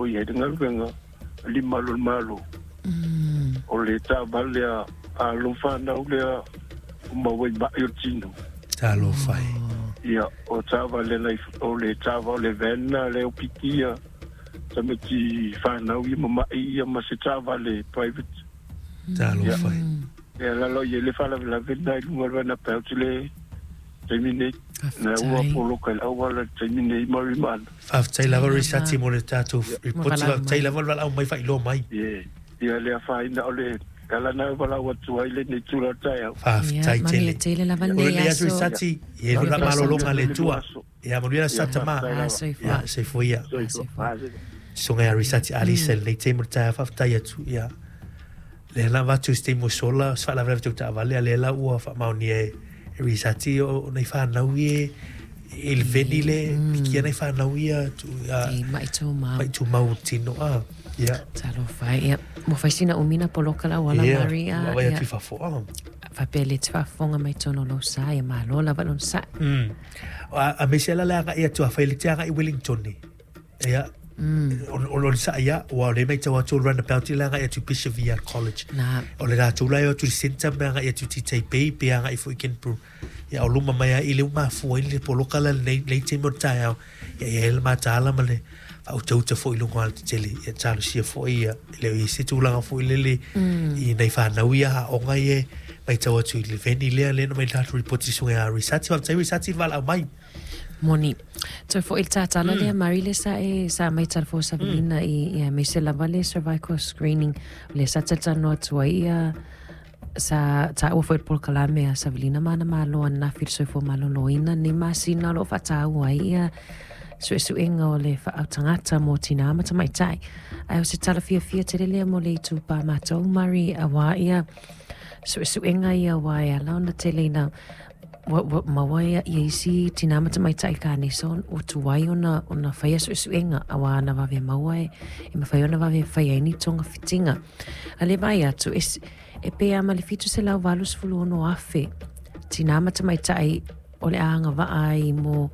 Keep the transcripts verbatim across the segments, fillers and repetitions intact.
lo o i ai le galuega a limalu o le Malo. O le taavale a alo fanau lea ua maua i ma'i o le tino. Talofa e. Ia, o taavale nai o le taava o le van lea o pikia tamaiti fanau ia ma ma'i ia ma se taavale private. Talofa e. Ia la lo i ai le faalavelave lena i luga o le runabout i le taimi nei. Na ua poloka i le auala i le taimi nei ma Rimana. Faafetai lava Risati mo le tatou ripoti, faafetai lava le valaau mai faailoa mai. Ie, ia le afaina o le ala na valaau atu ai lenei tula o le taeao. Faafetai tele. Manuia tele lava O lenei lenei aso aso. Risati, ia Ia le malologa a le Atua. Aso. Ia manuia le aso Ia, tama. faafetai lava. Soifua. Ia soifua ia. Soifua. Susuga ia Risati Alisa i lenei taimi o le taeao, faafetai atu. Ia lea la avatu i se taimi ua sola, se faalavelave tau taavale, a lea la ua faamaonia e e Risati o nai fanau ia i le veni le pikia nai fanau ia tu a E mai tumau. Mai tumau tino a. Ia. Talofa e. Ia, ua fai sina umi na poloka la auala Ia, Mari a. ua vaai Ia. atu i fafo a. Faapea le te faafofoga mai totonu o lou sa, ia malo lava lona sa'i. Mm. A, a me se ala le agai atu a fai le te agai i Wellington ni. Ia, o o le sa'i ia, ua o le matau atu o le runabout i le agai atu i Bishop Viard College. Na. O le latou la e o atu i le centre me agai atu i Taipei pe agai foi i Canberra. Ia o luma mai a i le uma afua ai le poloka la lenei lenei taimi o le taeao. Ia ia ai le mataala ma le faautauta foi i luga o alatetele. Ia talosia foi ia e le o i ai se tulaga foi lele i nai fanau ia aoga ia e matau atu i le veni lea lea na mai le latou ripoti susuga ia Risati. Faafetai Risati i le valaau mai. Moni. Toe foi i le tatala lea, Mari, lea sa e sa mai talafou savalina i ia aemaise lava le cervical screening lea sa talatalanoa atu ai ia sa taua foi i le polokalame a Savalina ma ana malo ananafi i le soifua maloloina nei masina o lo o faataua ai ia suesuega o le faautagata mo tinā ma tamaitai. Ae o se tala fiafia tele lea mo le itupa matou, Mari, auā ia suesuega ia aua e ala ona tele ina ua, ua maua ia, ia isi tinā ma tamaitai kanesa ua tuai ona, ona faia suesuega auā na vave maua e, e mafai ona vave fai ai ni togafitiga. A le vaai atu, e, e pe a ma le fitu selau valu sefulu ono afe tinā ma tamaitai o le a agavaa ai mo,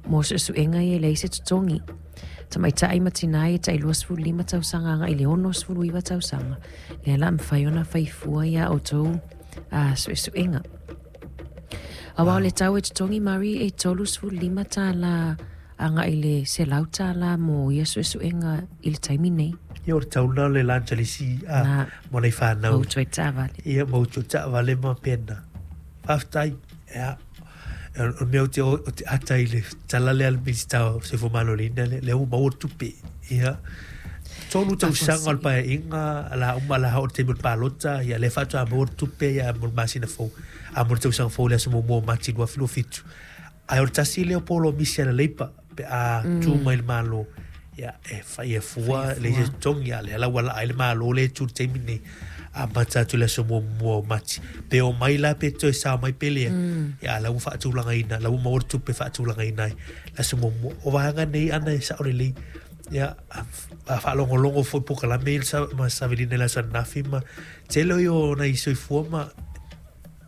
mo suesuega ia e leai se totogi. Tamaitai ma tinā ia tai luasefulu lima tausaga agai i le ono sefulu iva tausaga, lea la mafai ona fai fua ia outou a suesuega. Aua o le tau e totogi Mari e tolu sefulu lima tālā agai i le selau tālā mo ia suesuega i le taimi nei. Ia o le tau lena o le lunch a le isi a Na. mo nai fanau. Mau toe taavale. Ia mau toe taavale ma pena. Faafetai. Ia o le mea ou te o te ata i le tala lea a le Minisita o Soifua Maloloina lea, lea ua maua le tupe. Ia tolu tausaga o le paeaiga la uma la o le taimi o le palota, ia lea faatoa maua le tupe ia mo le masina fou. A mo le tausaga fou le aso muamua o Mati lua afe lua fitu. Ae o le tasi lea o polomisi a le Leipa pe a tu mai le Malo. Ia e fai e fua le se totogi a lea la ua laa ai le Malo lea e tu i le taimi nei. Amata atu le aso muamua o Mati. Pe o mai la pe toe sao mai pe lea. Ia a la ua faatulagaina, la ua maua le tupe faatulagaina ai le aso muamua. O vaega nei ana e sao lelei. Ia a a faalogologo foi polokalame i le sa ma savelina i le aso ananafi ma tele o ia o nai soifua ma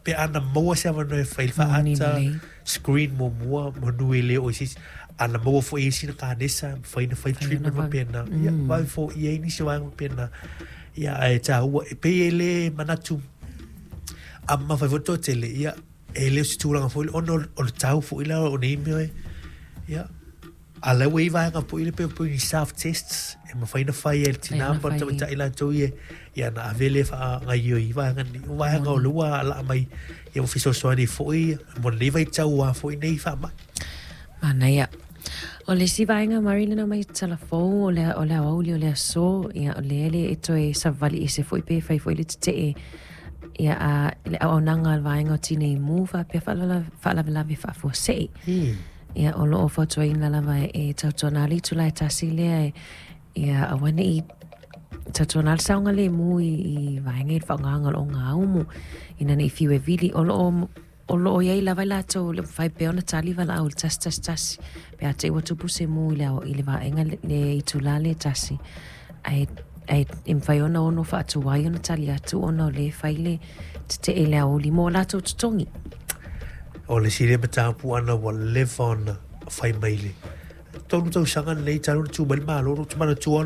pe ana maua se avanoa e fai le Moni faata lelei. screen muamua manu e le o i se isi. Ana maua foi e isi na kanesa, mafai ona fai Mafai ona treatment vave. faapena. Ia vave foia ai nisi o vaega faapena. Ia ae taua e pei e le manatu a mafai foi le toatele, ia e le o se tulaga foi lea ona o le tau foi la o nei mea e. Ia a la ua i ai vaega foi lea pei pei ni self tests e mafai ona fai e le Mafai tinā ona ma le fai. tamaitai latou ia ia ona ave lea e faagaoioi i vaega nei. O vaega o Moni. lea ua alaa mai ia ua fesoasoani ai foi mo lenei vaitau a foi nei faamai. Manaia. O le isi vaega Mari lena mai tala fou o le o le aoauli o le aso, ia o lea le e toe savali ese foi pe fai foi le tetee ia a le auaunaga a le vaega o Tinei Mu faapea faalala faalavelave faafuasei. Ia o loo fautuaina lava e tautuana le itula e tasi lea e ia aua nei tautuana le saogalemu i i vaega i le faaaogaga o le ogaumu ina nei fiu e vili o loo o loo i ai lava i latou le mafai pea ona tali valaau i le tasi tasi tasi pe a te i ua tupu se mu i le i le vaega le itula le tasi ae ae e mafai ona ono faatuai ona tali atu ona o lea e fai le tetee i le aoauli mo latou totogi. O le isi lea mataupu ana ua leva ona fai mai le tolu tausaga lenei talu ona tu mai le Malo, ou te manatua